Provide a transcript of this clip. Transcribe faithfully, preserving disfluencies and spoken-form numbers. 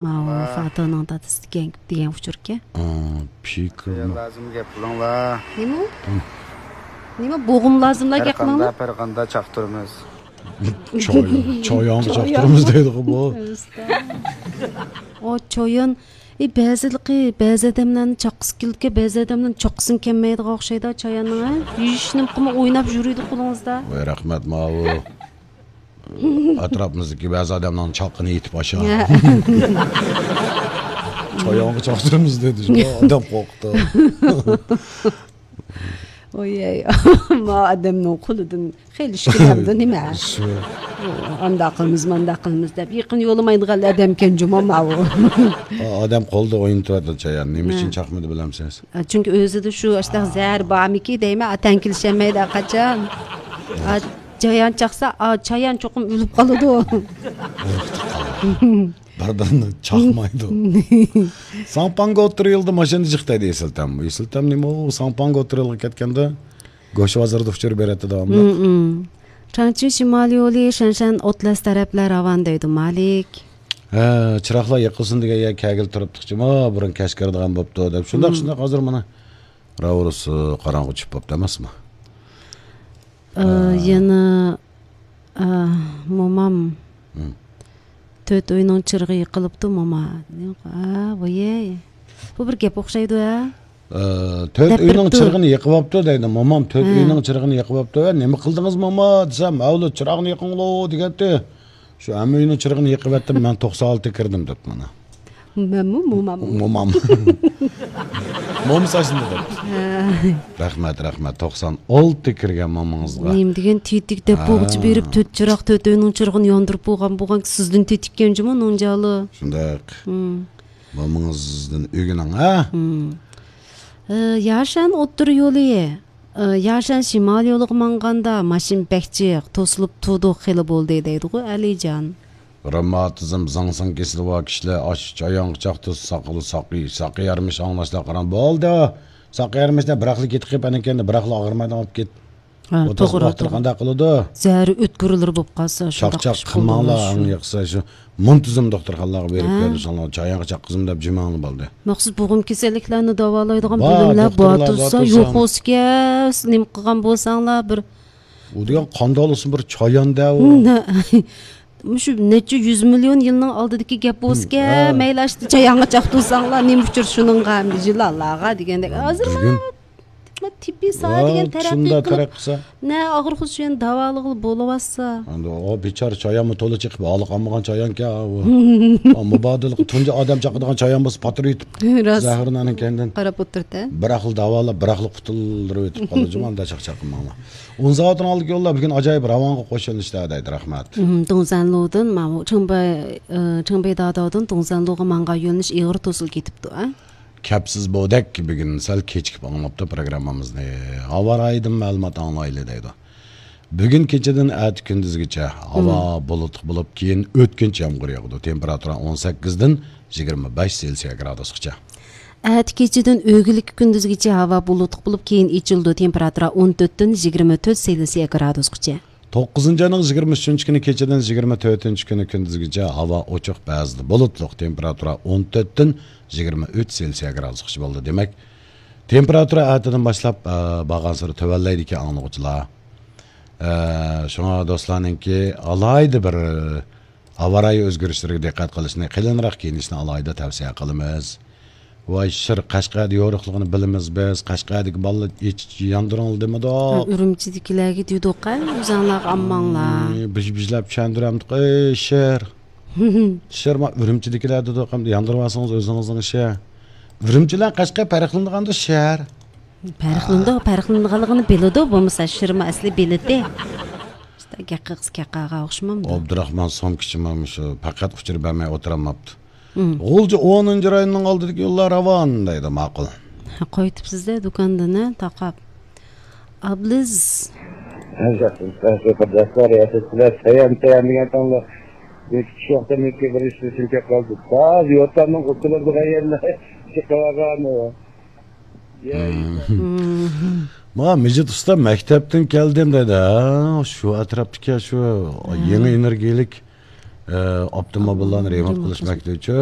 ماۋۇ فاتىنىڭ دادىسى دېگەن، دېگەن ئۇچۇركەن. پىكىر. لازىم گەپ قىلىڭلار. نېمە ئۇ؟ نېمە بوغۇم لازىملا گەپ قىلىڭلار؟ پەرقاندا چاقتۇرىمىز. چايانغا چاقتۇرىمىز دەيدىغۇ بۇ. ئۇ چايان، ئى، بەزىلىقى، بەزى ئادەملەرنى چاققۇسى كېلىدىكەن، بەزى ئادەملەرنى چاققۇسىمۇ كەلمەيدىغان ئوخشايدۇ چاياننىڭ، ھە؟ يېيىشنىمۇ قىلماي ئويناپ يۈرىدۇ قولىڭىزدا. ۋاي رەھمەت ماۋۇ. ئەتراپىمىزدىكى بەزى ئادەمنىڭ چاققىنى يېتىپ ئاشا. چايانغا چاقتۇرىمىز دېدى. ئادەم قورقتى. ۋويەي، ما ئادەمنىڭ قولىدىن خېلى ئىشكىلەمدۇ نېمە؟ ئانداق قىلىمىز، مانداق قىلىمىز دەپ يېقىن يولىمايدىغان ئادەمكەن جۇما ماۋۇ. ئادەم قولىدا ئوينىتىۋاتىدۇ چايان. نېمە ئۈچۈن چاقمىدى بىلەمسىز؟ چۈنكى ئۆزىدە شۇ ئاشتاق زەھەر بارمىكى دەيمەن، ئاتەن كېلىشەلمەيدۇ قاچان. چايان چاقسا، چايان چوقۇم ئۆلۈپ قالىدۇ. بىر-بىرىنى چاقمايدۇ. ساڭپاڭغا ئوتتۇرا يولدا ماشىنا جىق دەيدۇ ئېسىلتەم. ئېسىلتەم نېمە ئۇ؟ ساڭپاڭغا ئوتتۇرا يولغا كەتكەندە گۆش بازىرىدا ئۇچۇر بېرەتتى داۋاملىق. چاڭچى شىمال يولى شەنشەن ئوتلەس تەرەپلەر راۋان دەيدۇ مالىك. ھە، چىراغلار يېقىلسۇن دېگەن يەرگە كەلگىلى تۇرۇپتۇق جۇما، بۇرۇن كەچ كىرىدىغان بوپتۇ دەپ. شۇنداق، شۇنداق، ھازىر مانا راۋۇرۇس قاراڭغۇ چۈشۈپ بوپتۇ ئەمەسمۇ؟ ئە، يەنە، ئە، مومام. تۆت ئۆينىڭ چىرىغى يېقىلىپتۇ، موما. ئە، ۋويەي. بۇ بىر گەپ ئوخشايدۇ، ھە؟ ئە، تۆت ئۆينىڭ چىرىغىنى يېقىۋاپتۇ دەيدۇ. مومام تۆت ئۆينىڭ چىرىغىنى يېقىۋاپتۇ. ھە، نېمە قىلدىڭىز، موما؟ دېسەم، ھەۋلى چىراغنى يېقىڭلو دېگەنتى. شۇ ھەممە ئۆينىڭ چىرىغىنى يېقىۋەتتىم، مەن توقسان ئالتە كىردىم دەپتۇ مانا. مەنمۇ مومام. مومام. مومىسى ئاشۇنداق دەپتۇ. رەھمەت، رەھمەت. توقسان ئالتە كىرگەن مومىڭىزغا. نېمە دېگەن تېتىك دەپ بوغچا بېرىپ، تۆت چىراغ، تۆت ئۆينىڭ چىرىغىنى ياندۇرۇپ بولغان، بولغان سىزدىن تېتىككەن جۇمۇ نوڭجالى. شۇنداق. مومىڭىزدىن ئۆگىنىڭ، ھە؟ ئە، ياشەن ئوتتۇرا يولى. ئە، ياشەن شىمال يولىغا ماڭغاندا ماشىنا بەك جىق، توسۇلۇپ تۇردۇق، خېلى بولدى دەيدىغۇ ئەلىجان. رېماتىزم، زاڭسىڭ كېسىلى بار كىشىلەر ئاشۇ چايانغا چاقتۇرسا ساقىلى ساقىي، ساقىي يارىمىش ئاڭلاشلار قاراڭ. بولدى، ساقىي يارىمىشنى بىراقلا كېتىپ قېلىپ، ئەنە كەينىدە بىراقلا ئاغرىمايدىغان بولۇپ كېتىپ. ھە، توغرا، توغرا. قانداق قىلىدۇ؟ زەھىرى ئۆتكۈرلىرى بولۇپ قالسا، شۇنداق چاقچاق قىلماڭلار، ئەڭ ياخشىسى شۇ مۇنتىزىم دوختۇرخانىلارغا بېرىپ كۆرۈنسەڭلار، چايانغا چاققۇزما دەپ جىمىڭلار بولدى. مەخسۇس بوغۇم كېسەللىكلەرنى داۋالايدىغان بار، بۆلۈملەر دوختۇرلار بار بار تۇرسا، تۇرسا. يوق بولسىكەن، نېمە قىلغان بولساڭلار بىر. ئۇ دېگەن قانداق بولسۇن، بىر چايان-دە ئۇ. مۇشۇ نەچچە يۈز مىليون يىلنىڭ ئالدىدىكى گەپ بولسىكەن، مەيلى ئاشتا چايانغا چاقتۇرساڭلار، نېمە ئۇچۇر شۇنىڭغا، يىلانلارغا دېگەندەك. ھازىر تېببىي ساھە دېگەن تەرەققىي قىلىپ، نە ئاغرىق خۇشيەن داۋالىغىلى بولۇۋاتسا. ئەمدى ئۇ بىچارە چايانمۇ تولا چىقىپ، ھالى قالمىغان چايانكەن ئۇ. مۇبادىلىقى تۇنجى ئادەم چاقىدىغان چايان بولسا، پاتۇرۇپ يېتىپ، زەھىرلەنگەندىن. قاراپ ئولتۇرۇپ، بىراقلا داۋالاپ، بىراقلا قۇتۇلدۇرۇپ يېتىپ قالىدۇ جۇمۇ، ئۇنداق چاقچاق قىلماڭلار. ئون سائەتنىڭ ئالدىدىكى يوللار بۈگۈن ئاجايىپ راۋانغا قوشۇلۇشتا دەيدۇ، رەھمەت. دۇڭزەنلۇدىن، ماۋۇ چىڭبەي، ئى، چىڭبەي داداۋدىن دۇڭزەنلۇغا ماڭغان يۆنىلىش ئېغىر توسۇلۇپ كېتىپتۇ، ھە؟ كەپسىز بودەك بۈگۈن سەل كېچىكىپ ئاڭلاپتۇ پروگراممىمىزنى. ھاۋا رايىدىن مەلۇمات ئاڭلايلى دەيدۇ. بۈگۈن كېچىدىن ئەتە كۈندۈزگىچە ھاۋا بۇلۇتلۇق بولۇپ، كېيىن ئۆتكۈنچى يامغۇر ياغىدۇ. تېمپېراتۇرا ئون سەككىزدىن يىگىرمە بەش سېلسىيە گرادۇسقىچە. ئەتە كېچىدىن ئۆگۈنلۈككە كۈندۈزگىچە ھاۋا بۇلۇتلۇق بولۇپ، كېيىن ئېچىلىدۇ. تېمپېراتۇرا ئون تۆتتىن يىگىرمە تۆت سېلسىيە گرادۇسقىچە. توققۇزىنچى ئاينىڭ يىگىرمە ئۈچىنچى كۈنى كېچىدىن يىگىرمە تۆتىنچى كۈنى كۈندۈزگىچە ھاۋا ئوچۇق، بەزىدە بۇلۇتلۇق. تېمپېراتۇرا ئون تۆتتىن يىگىرمە ئۈچ سېلسىيە گرادۇسقىچە بولىدۇ. دېمەك، تېمپېراتۇرا ئەتىدىن باشلاپ، ئە، بارغانسېرى تۆۋەنلەيدىكەن ئاڭلىغۇچىلار. ئە، شۇڭا دوستلارنىڭكى ئالاھىدە بىر ھاۋا رايى ئۆزگىرىشلىرىگە دىققەت قىلىشنى، قېلىنراق كىيىنىشنى ئالاھىدە تەۋسىيە قىلىمىز. ۋاي شىر، قەشقەردە يورۇقلۇقىنى بىلىمىز بىز. قەشقەردىكى بالىلار ھېچ ياندۇرۇڭلار دېمىدۇق. ھە، ئۈرۈمچىدىكىلەرگە دېدۇق، ھە، ئۆزۈڭلارغا ئامماڭلار. ئى، بىژ-بىژلاپ چۈشەندۈرەمدۇق، ئەي شىر. شىر، ما ئۈرۈمچىدىكىلەر دېدۇق، ئەمدى ياندۇرۇۋالسىڭىز ئۆزىڭىزنىڭ ئىشى. ئۈرۈمچى بىلەن قەشقەر پەرقلىنىدىغاندۇ شەھەر. پەرقلىنىدۇ، پەرقلىنىدىغانلىقىنى بىلىدۇ، بولمىسا شىرمۇ ئەسلى بىلىتى. گەپ قىلغۇسى كەپ قالغان ئوخشىمامدۇ؟ ئابدۇراخمان سومكىچىمۇ شۇ پەقەت ئۇچۇر بەرمەي ئولتۇرالماپتۇ. غۇلجا ئونىنچى رايوننىڭ ئالدىدىكى يوللار راۋان دەيدۇ، ماقۇل. قويۇپسىز-دە دۇكاندىن، ھە، تاقاپ. ئابلىز. رىياسەتچىلەر، سايان، سايان دېگەن تاڭدا بىر كىشى ۋاقتىمىزكى بىر ئىش ئۈچۈن كەپ قالدى. تازا يوتاننىڭ ئۇسۇلىدا بىر يەرلەر چىقىۋالغان. مانا مىجىت ئۇستا مەكتەپتىن كەلدىم دەيدۇ. ھە، شۇ ئەتراپتىكى شۇ يېڭى ئېنېرگىيىلىك ئاپتوموبىللارنى رېمونت قىلىش مەكتىۋىچۇ.